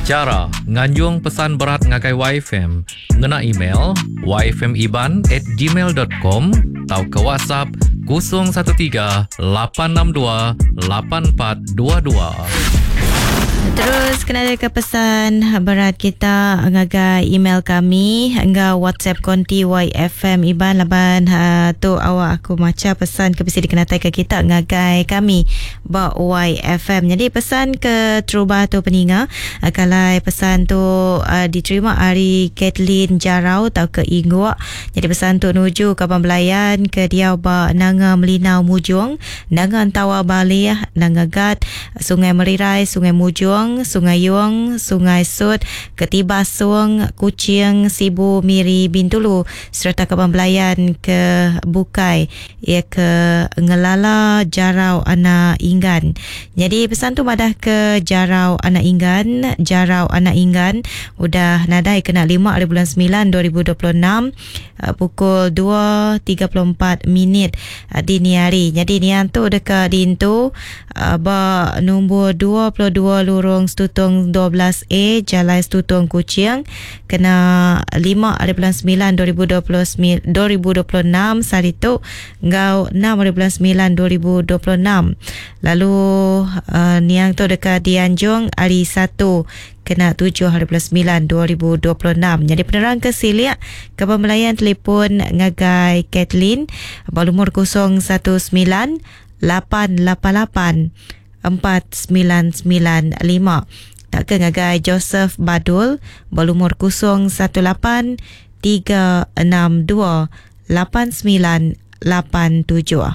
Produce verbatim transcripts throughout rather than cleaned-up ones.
Chara nganjung pesan berat ngagai Y F M ngena email y f m iban at gmail dot com tauka WhatsApp kosong satu tiga lapan enam dua lapan empat dua dua. Terus kena ada ke pesan berat kita ngagai email kami enggau WhatsApp konti Y F M Iban laban uh, tu awak aku maca pesan ke bisi dikenatai ke kita ngagai kami ba Y F M. Jadi pesan ke terubah tu peninga uh, kalau pesan tu uh, diterima hari Kathleen Jarau atau ke Ingguk. Jadi pesan tu nuju ke Abang Belayan ke dia ba Nanga Melinau Mujung, Nanga Entawa Balih, Nanga Gat, Sungai Merirai, Sungai Mujung, Sungai Yong, Sungai Sut, Ketibasung, Kuching, Sibu, Miri, Bintulu serta Kaban Belayan ke Bukai ia ke Ngelala Jarau Anak Inggan. Jadi pesan tu madah ke Jarau Anak Inggan, Jarau Anak Inggan udah nadai kena lima hari bulan sembilan dua ribu dua puluh enam pukul dua tiga puluh empat minit dini hari. Jadi nian tu dekat dintu ba nombor dua puluh dua Lorong Stutong dua belas A Jalan Stutong Kuching kena lima hari bulan sembilan dua ribu dua puluh dua ribu dua puluh enam hari tu ngau enam hari bulan sembilan dua ribu dua puluh enam. Lalu uh, niang tu dekat dianjung hari satu kena tujuh hari bulan sembilan dua ribu dua puluh enam. Jadi penerang ke Siliak ke pembelayan telefon ngagai Kathleen berumur kosong satu sembilan lapan lapan lapan empat sembilan sembilan lima. Tak ke ngagai Joseph Badul berumur kosong satu lapan tiga enam dua lapan sembilan lapan tujuh.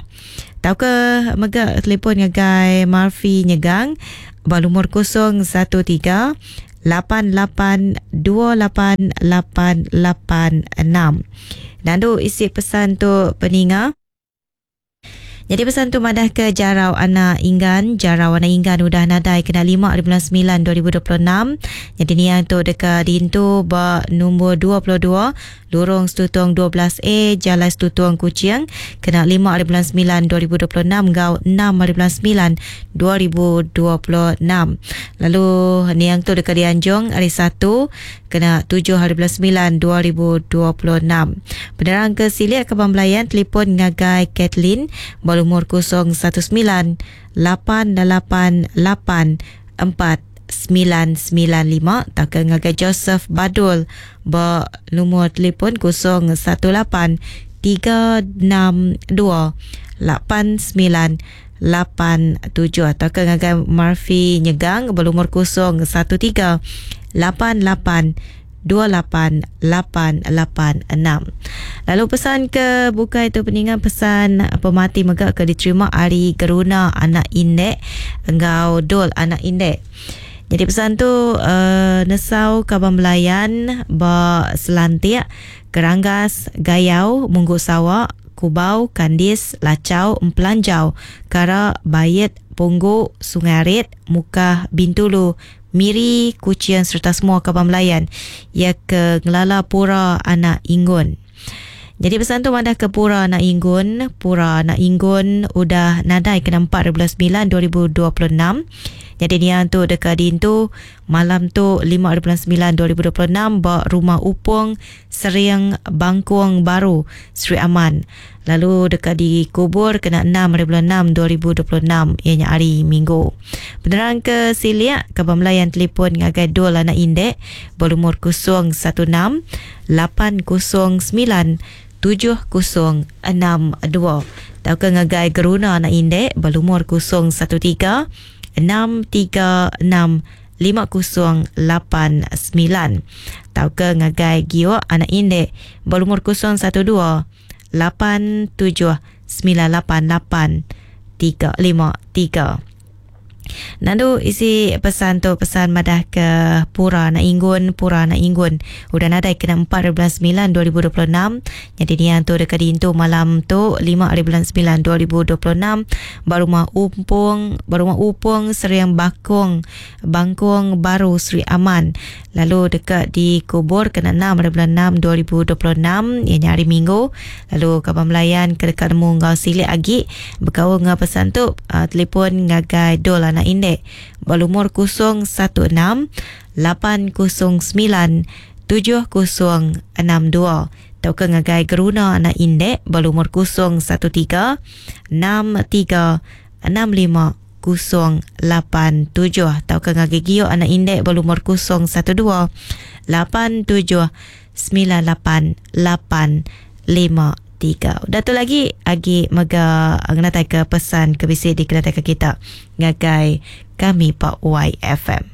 Tak ke mega telefon ngagai Murphy Nyegang berumur kosong satu tiga lapan lapan dua lapan lapan lapan enam. Dan tu isi pesan tu peninga. Jadi pesan tu madah ke Jarau Anak Inggan. Jarau Anak Inggan udah nadai kena lima hari bulan sembilan dua ribu dua puluh enam. Jadi niang tu dekat dintu ba nombor dua puluh dua Lorong Stutong dua belas A Jalan Stutong Kuching kena lima hari bulan sembilan dua ribu dua puluh enam gau enam hari bulan sembilan dua ribu dua puluh enam. Lalu niang tu dekat dianjung hari satu kena tujuh hari bulan sembilan dua ribu dua puluh enam. Penerang ke Siliak ke Belayan telefon ngagai Kathleen berumur kosong satu sembilan lapan lapan lapan empat sembilan sembilan lima tak ke ngagai Joseph Badul bernomor telefon kosong satu lapan tiga enam dua lapan sembilan lapan tujuh atau ke ngagai Murphy Nyegang berumur kosong satu tiga lapan lapan dua lapan lapan lapan enam. Lalu pesan ke bukai tu peningan pesan pemati megak ke diterima ari Geruna Anak Indek enggau Dol Anak Indek. Jadi pesan tu uh, nesau Kaban Belayan ba Selantik, Keranggas, Gayau, Munggu Sawak, Kubau, Kandis, Lacau, Empelanjau, Kara, Bayet, Punggu, Sungai Arit, Mukah, Bintulu, Miri, Kuching serta semua Kaban Belayan ia ke Ngelala Pura Anak Inggun. Jadi pesan tu madah ke Pura Anak Inggun, Pura Anak Inggun udah nadai kena empat hari bulan sembilan dua ribu dua puluh enam. Jadi niang tu dekat dintu malam tu lima hari bulan sembilan dua ribu dua puluh enam ba Rumah Upung Seriang Bangkuang Baru Sri Aman. Lalu dekat dikubur kena enam hari bulan enam dua ribu dua puluh enam ianya hari Minggu. Penerang ke Siliak ke Belayan telefon ngagai Dol Anak Indek berumur kosong satu enam lapan kosong sembilan tujuh kosong enam dua. Tauka ngagai Geruna Anak Indek berumur kosong satu tiga enam tiga enam lima kosong lapan sembilan. Tauka ngagai Giok Anak Indek berumur kosong satu dua lapan tujuh sembilan lapan lapan tiga lima tiga. Nandu isi pesan tu pesan madah ke Pura Anak Inggun, Pura Anak Inggun udah nadai kena empat hari bulan sembilan dua ribu dua puluh enam. Jadi niang tu dekat dintu malam tu lima hari bulan sembilan dua ribu dua puluh enam Barumah Upung, Barumah Upung Seriang Bakung, Bangkung Baru Sri Aman. Lalu dekat dikubur kena enam hari bulan enam dua ribu dua puluh enam ianya hari Minggu. Lalu Kaban Belayan ke dekat nemu ngau silik agi berkaul ngau pesan tu uh, telefon ngagai Dol Anak anak Indek berlumur kosong satu enam lapan kosong sembilan tujuh kosong enam dua tauka ngagai Geruna anak Indek berlumur kosong satu tiga enam tiga enam lima kosong lapan tujuh tauka ngagai Gio anak Indek berlumur kosong satu dua lapan tujuh sembilan lapan lapan lima tiga. Udah tu lagi agi mega ngenatai ke pesan ke bisi dikenatai ke kita ngagai kami Pak Y F M.